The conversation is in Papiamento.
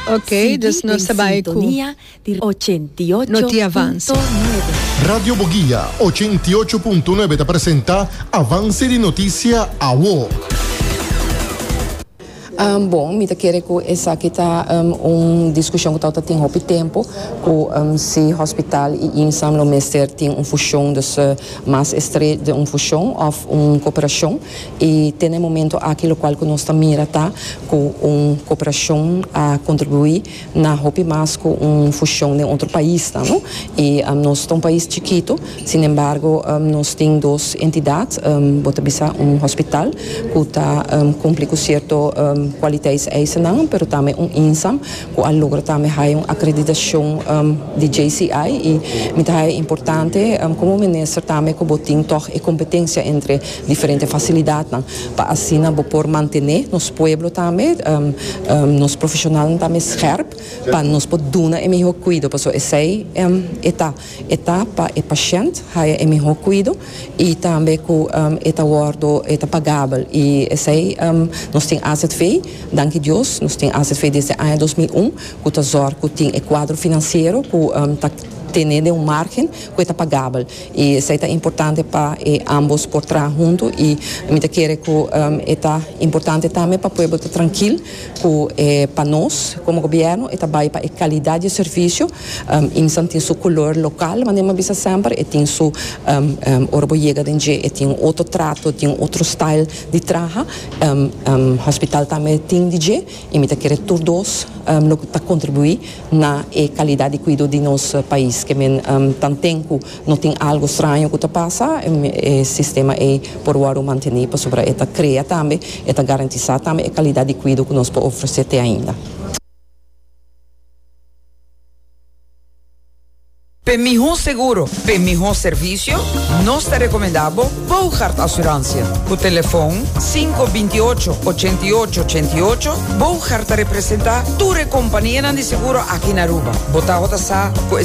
Ok, dus nos ta bai ku no tin avance. Radio Boguia 88.9 ta presenta Avance di Noticia Awo. Bon, mi ta kere ku esaki ta un diskushon ku tabata tin hopi tempu, ku si hospital i IMSAM lo mester tin un fushon, dus mas estre den un fushon òf un koperashon. I te na e momento aki lokual ku nos ta mira ta ku un koperashon a kontribuí na hopi mas ku un fushon den otro paisnan, no. I nos ta un pais chikitu, sinembargo nos tin dos entidat, bo ta bisa un hospital ku ta kumpli ku sierto kwaliteitseisennan, pero tambe un INSAM ku a logra tambe haya un akreditashon di JCI i mi ta haya importante komo minister tambe ku bo tin tòg e kompetensia entre diferente fasilidatnan pa asina bo por mantené nos pueblo tambe, nos profeshonalnan tambe scherp pa nos por duna e mihó kuido pasobra esei e ta, e ta pa e pashènt haya e mihó kuido i tambe ku e ta wòrdu e ta pagabel i esei nos tin azv, danki Dios nos tin azv desde aña 2001 ku ta zòrg ku tin e kuadro finansiero ku ta tene den un margen ku e ta pagabel. I esei ta importante pa e ambos por traha huntu i mi ta kere ku e ta importante tambe pa pueblo ta trankil ku e pa nos komo gobièrnu e ta bai pa e kalidat di e servisio. IMSAN tin su kolor lokal manera mi a bisa semper e tin su ora bo yega den dje e tin un otro trato tin un otro style di traha. Hospital tambe tin di dje i mi ta kere tur dos lo ta kontribuí. na e calidad di cuido di nos pais. Ke men tanten cu no tin algo straño cu ta pasa, e sistema ey por wordo manteni pasobra e ta crea tambe, e ta garantisa tambe e calidad di cuido cu nos por ofrece te ainda. P'e mihó seguro, p'e mihó servisio, nos ta rekomendá bo Boogaard Assurantie. Ku telefon 5 28 88 88, Boogaard ta representá tur e kompanianan di seguro aki na Aruba. Bo tabata sa ku e.